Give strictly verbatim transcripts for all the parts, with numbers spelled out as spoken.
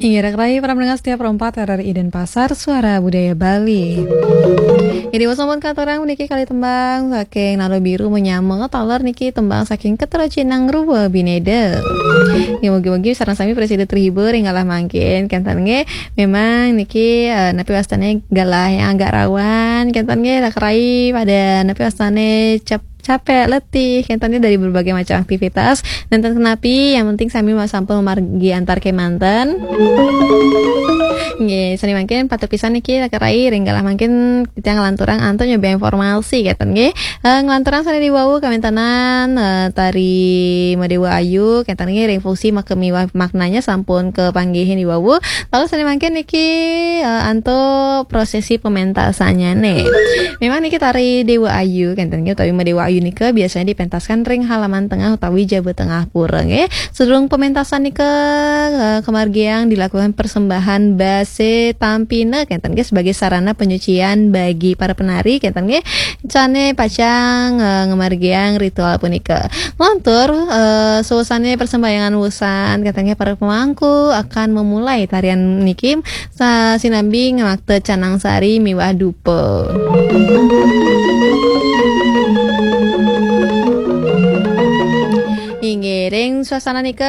Inggih, rek rai para pendengar setia Pro empat R R I Denpasar, Suara Budaya Bali. Jadi, wos sampun katurang niki kali tembang saking Nalo Biru Menyama, taler niki tembang saking Ketero Cinang Ruwa Bineda. Ya, mugi-mugi sareng sami prasida terhibur ing galah mangkin. Kenten nggih, memang niki, eh, napi wastane galah yang agak rawan. Kenten nggih, rek rai pada napi wastane cap-, capek, letih, kenten nggih dari berbagai macam aktivitas. Nenten kenapi, yang penting sami mas sampun margi antar kemanten. Nggih, sane mangkin patut pisan niki, rek rai ring galah mangkin kita ngelanturang antuk nyoba informasi, kenten nggih. Eh, ngelanturang sane diwawu kawentanan, eh, tari Madewa Ayu, kenten nggih ring fungsi mak-, miwah maknanya sampun kepanggihin diwawu. Lalu sane mangkin niki, eh, antuk prosesi pementasanyane. Memang niki tari Dewa Ayu, kenten nggih, utawi Madewa Ayu nika biasanya dipentaskan ring halaman tengah utawi jaba tengah pura nggih. Sedurung pementasan nika, eh, kemargiang dilakukan persembahan base tampina, kenten nggih, sebagai sarana penyucian bagi para penari, kenten nggih. Sane pacang, eh, ngemargiang ritual punika. Ngelantur, eh, suasane persembahyangan wusan, kenten nggih, para pemangku akan memulai tarian niki sa-, sinambi ngamakta canang sari miwah dupa. Inggih, ring suasana nika,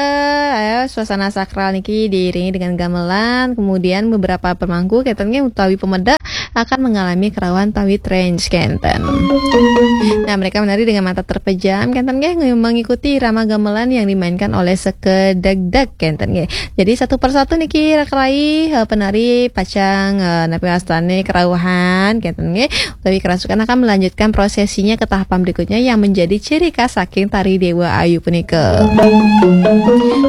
eh, suasana sakral niki diiringi dengan gamelan, kemudian beberapa pemangku kenten nggih utawi pemeda akan mengalami kerauhan utawi trance kenten. Nah, mereka menari dengan mata terpejam kenten nggih, mengikuti irama gamelan yang dimainkan oleh sekedegdeg kenten nggih. Jadi, satu persatu niki rek rai, eh, penari pacang, eh, napi wastane kerauhan kenten nggih, utawi kerasukan akan melanjutkan prosesinya ke tahapan berikutnya yang menjadi ciri khas saking tari Dewa Ayu punika.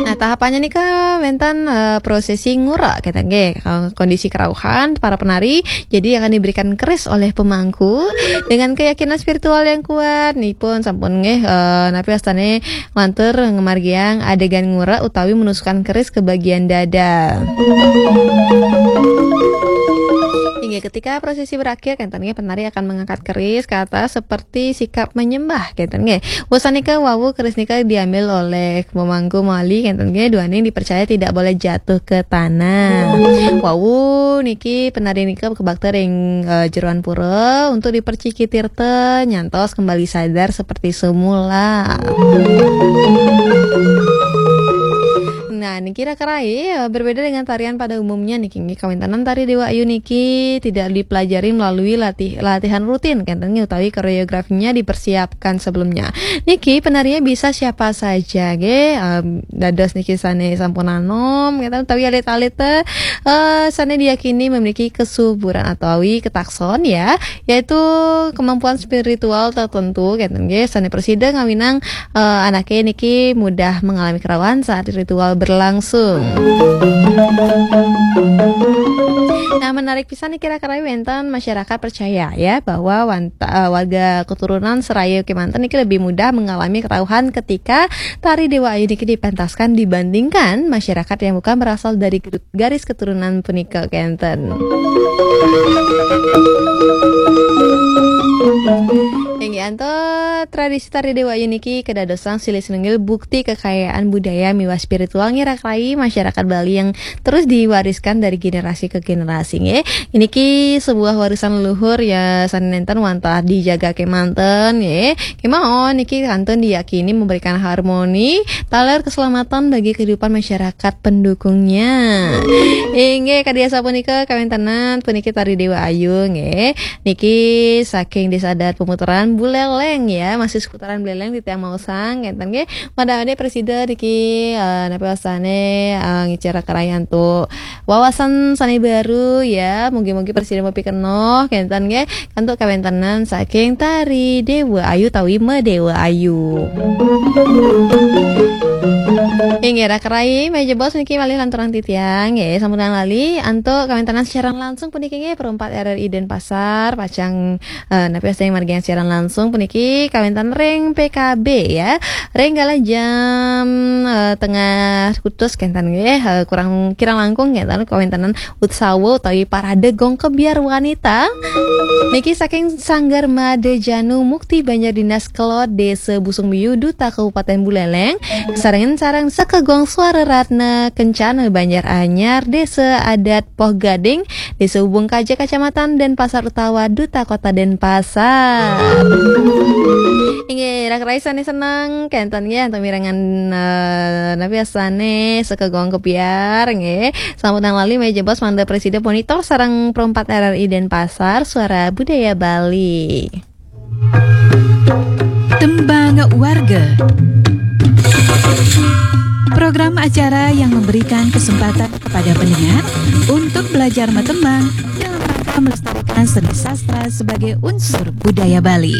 Nah, tahapannya nika wenten, eh, prosesi ngura kenten nggih. Eh, kondisi kerauhan para penari jadi akan diberikan keris oleh pemangku dengan keyakinan spiritual yang kuat. Nipun sampun nggih, eh, napi wastane ngelantur ngemargiang adegan ngura utawi menusukkan keris ke bagian dada. Inggih, ketika prosesi berakhir, kenten nggih, penari akan mengangkat keris ke atas seperti sikap menyembah, kenten nggih. Wusan nika wawu keris nika diambil oleh pemangku malih, kenten nggih, duaning dipercaya tidak boleh jatuh ke tanah. Wawu niki penari nika kebakta ring, eh, jeroan pura untuk diperciki tirta nyantos kembali sadar seperti semula. Nah, niki rek rai, eh, berbeda dengan tarian pada umumnya niki, nggih, kawentanan tari Dewa Ayu niki tidak dipelajari melalui latih-, latihan rutin, kenten nggih, utawi koreografinya dipersiapkan sebelumnya. Niki penarinya bisa siapa saja, nggih, em, dados niki sane sampun anom, kenten, utawi alit-alit, eh, sane diyakini memiliki kesuburan atawi ketakson, ya, yaitu kemampuan spiritual tertentu, kenten nggih, sane prasida ngawinang, eh, anake niki mudah mengalami kerawan saat ritual berlangsung. Nah, menarik pisan niki rek rai wenten masyarakat percaya ya bahwa wanta-, eh, warga keturunan seraya kemanten niki lebih mudah mengalami kerauhan ketika tari Dewa Ayu niki dipentaskan dibandingkan masyarakat yang bukan berasal dari garis keturunan punika kenten. Inggih, antuk tradisi tari Dewa Ayu niki kedadosan silih sinunggil bukti kekayaan budaya miwah spiritual nggih rek rai masyarakat Bali yang terus diwariskan dari generasi ke generasi nggih. Niki sebuah warisan leluhur ya sane nenten wantah dijaga kemanten nggih. Kemawon niki kantun diyakini memberikan harmoni taler keselamatan bagi kehidupan masyarakat pendukungnya. Inggih, kadi asapunika kawentanan puniki tari Dewa Ayu nggih. Niki saking Desa Adat Pemutaran Buleleng ya, masih seputaran Buleleng titiang maosang kenten nggih. Mada-mada prasida niki, eh, napi wastane, eh, ngicara kerayan tu wawasan sane baru ya. Mugi-mugi prasida mapikenoh kenten nggih. Antuk kawentanan saking tari Dewa Ayu tawi Madewa Ayu. Inggih, rek rai, menawi jebos niki malih lanturang titiang nggih, sampunang lali antuk kawentanan siaran langsung puniki nggih, Pro empat R R I Denpasar, pacang, eh, napi wastane margiang siaran langsung puniki kawentanan ring P K B ya. Ring galah jam, eh, tengah kutus kenten nggih, eh, kurang kirang langkung kenten kawentanan utsawa utawi parade gong kebyar wanita. Niki saking Sanggar Made Janu Mukti Banjar Dinas Kelod Desa Busung Biu Duta Kabupaten Buleleng. Sarengan sareng Saka gong Suara Ratna Kencana Banjar Anyar, Desa Adat Poh Gading, Desa Ubung Kaja, Kacamatan Denpasar utawa Duta Kota Denpasar. Inggih, rak raisane seneng kenten nggih antuk mirengan, eh, napi asane saka gong kepiar nggih. Sambutan lali meja bos mangda presida monitor sareng perempat R R I Denpasar, Suara Budaya Bali. Tembang Warga. Program acara yang memberikan kesempatan kepada pendengar untuk belajar matembang dalam rangka melestarikan seni sastra sebagai unsur budaya Bali.